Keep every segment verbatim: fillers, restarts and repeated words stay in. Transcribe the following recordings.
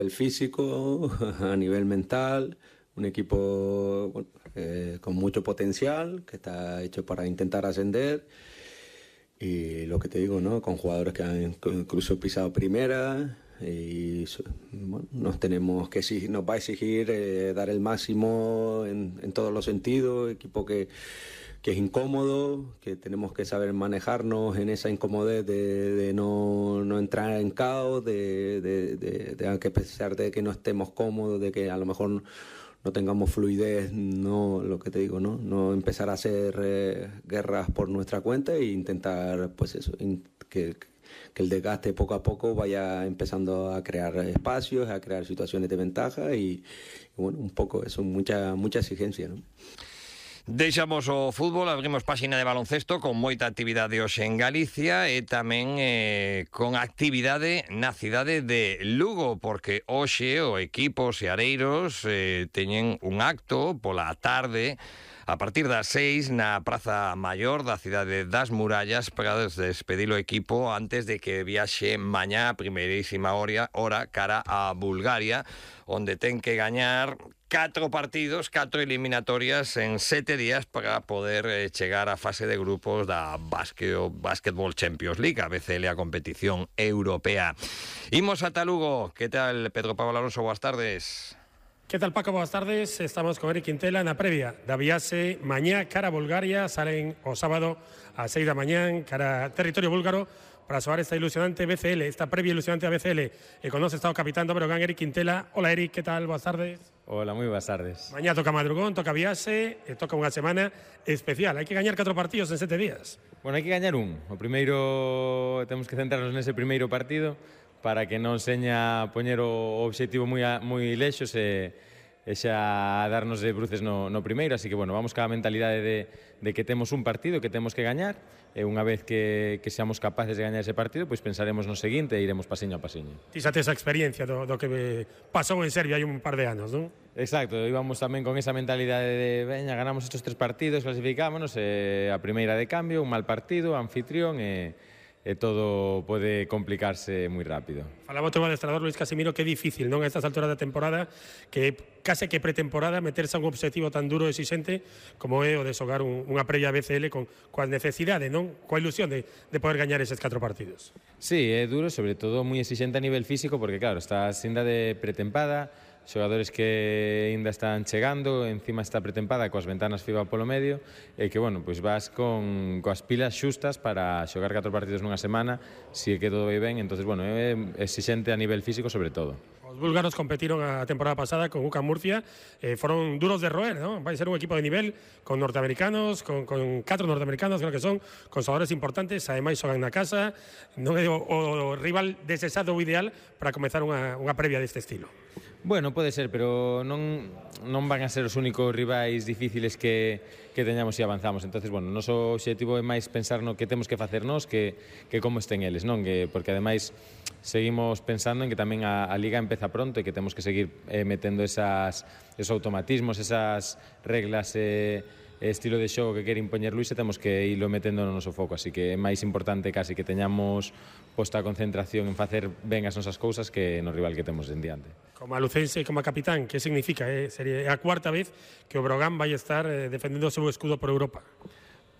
El físico, a nivel mental, un equipo bueno, eh, con mucho potencial, que está hecho para intentar ascender. Y lo que te digo, ¿no? Con jugadores que han incluso pisado primera. Y bueno, nos tenemos que exigir, nos va a exigir eh, dar el máximo en, en todos los sentidos. Equipo que, que es incómodo, que tenemos que saber manejarnos en esa incomodez de, de no, no entrar en caos, de, de, de, de que a pesar de que no estemos cómodos, de que a lo mejor no, no tengamos fluidez, no, lo que te digo, no, no empezar a hacer eh, guerras por nuestra cuenta e intentar, pues eso, in, que que el desgaste poco a poco vaya empezando a crear espacios, a crear situaciones de ventaja y, y bueno, un poco eso, mucha mucha exigencia, ¿no? Deixamos o fútbol, abrimos páxina de baloncesto con moita actividade hoxe en Galicia e tamén eh, con actividade na cidade de Lugo, porque hoxe o equipo seareiros eh, teñen un acto pola tarde a partir das seis na Praza Maior da cidade das Murallas para despedir o equipo antes de que viaxe mañá a primeirísima hora, hora cara a Bulgaria, onde ten que gañar catro partidos, catro eliminatorias en sete días para poder eh, chegar á fase de grupos da Basketball Champions League, a B C L, a competición europea. Imos ata Lugo. Que tal, Pedro Pablo Alonso? Boas tardes. Que tal, Paco? Boas tardes. Estamos con Eric Quintela na previa da viaxe mañá cara a Bulgaria. Salen o sábado a seis da mañán cara a territorio búlgaro para soar esta ilusionante B C L, esta previa ilusionante a B C L. E con nos está o capitán do Breogán, Eric Quintela. Hola, Eric, que tal? Boas tardes. Hola, moi boas tardes. Mañá toca madrugón, toca viaxe, e toca unha semana especial. Hai que gañar catro partidos en sete días. Bueno, hai que gañar un. O primeiro, temos que centrarnos nese primeiro partido para que non seña poñer o obxectivo moi, moi lexos e, e xa darnos de bruces no, no primeiro. Así que, bueno, vamos ca mentalidade de, de que temos un partido que temos que gañar e unha vez que, que seamos capaces de gañar ese partido, pois pensaremos no seguinte e iremos pasiño a pasiño. Ti xa tes a experiencia do, do que pasou en Serbia hai un par de anos, non? Exacto, íbamos tamén con esa mentalidade de veña, ganamos estes tres partidos, clasificámonos, e a primeira de cambio, un mal partido, anfitrión e, e todo pode complicarse moi rápido. Falaba o teu adestrador Luis Casimiro que é difícil, non, a estas alturas da temporada, que case que pretemporada meterse a un objetivo tan duro e exixente como é o de xogar un, unha previa B C L con coa necesidade, non, coa ilusión de, de poder gañar eses catro partidos. Sí, é duro, sobre todo moi exixente a nivel físico, porque claro, estás ainda de pretempada, xogadores que ainda están chegando, encima está pretempada coas ventanas FIBA polo medio, e que, bueno, pois vas con coas pilas xustas para xogar catro partidos nunha semana, se que todo vai ben. Entonces, bueno, é exixente a nivel físico sobre todo. Os búlgaros competiron a temporada pasada con U C A M Murcia, eh, foron duros de roer, ¿no? Vai ser un equipo de nivel con norteamericanos, con, con catro norteamericanos, creo que son, con xogadores importantes, ademais xogan na casa, non é o, o rival desexado o ideal para comezar unha, unha previa deste estilo. Bueno, pode ser, pero non, non van a ser os únicos rivais difíciles que, que teñamos se avanzamos. Entonces, bueno, o noso objetivo é máis pensar no que temos que facer nós que, que como estén eles, non? Que, porque ademais seguimos pensando en que tamén a, a Liga empeza pronto e que temos que seguir eh, metendo esas, esos automatismos, esas reglas e eh, estilo de xogo que quere impoñer Luis, e temos que irlo metendo no noso foco. Así que é máis importante casi que teñamos posta a concentración en facer ben as nosas cousas que no rival que temos en diante. Como a lucense e como a capitán, que significa? Eh? Sería a cuarta vez que o Breogán vai estar eh, defendendo o seu escudo por Europa.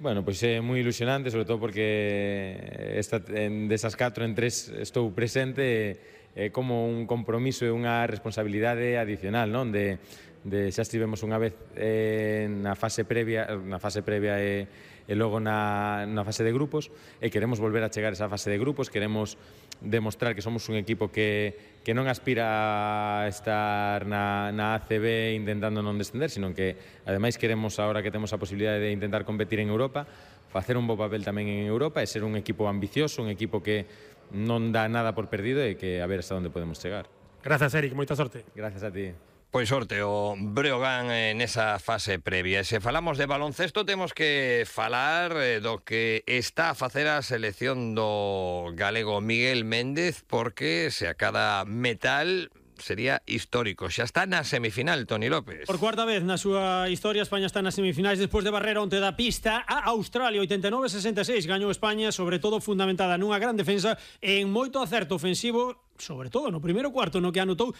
Bueno, pois é moi ilusionante, sobre todo porque esta, en, desas catro en tres estou presente, é como un compromiso e unha responsabilidade adicional, non? De, de xa estivemos unha vez eh, na fase previa, na fase previa e, e logo na, na fase de grupos, e queremos volver a chegar a esa fase de grupos, queremos demostrar que somos un equipo que, que non aspira a estar na, na A C B intentando non descender, sino que ademais queremos, agora que temos a posibilidade de intentar competir en Europa, facer un bo papel tamén en Europa e ser un equipo ambicioso, un equipo que non dá nada por perdido e que a ver hasta onde podemos chegar. Grazas, Eric, moita sorte. Gracias a ti. Pois sorte o Breogán nesa fase previa. E se falamos de baloncesto temos que falar do que está a facer a selección do galego Miguel Méndez, porque se acada metal sería histórico. Xa está na semifinal, Toni López. Por cuarta vez na súa historia España está nas semifinais despois de barrer onte da pista a Australia. Oitenta e nove a sesenta e seis gañou España, sobre todo fundamentada nunha gran defensa e en moito acerto ofensivo, sobre todo no primeiro cuarto, no que anotou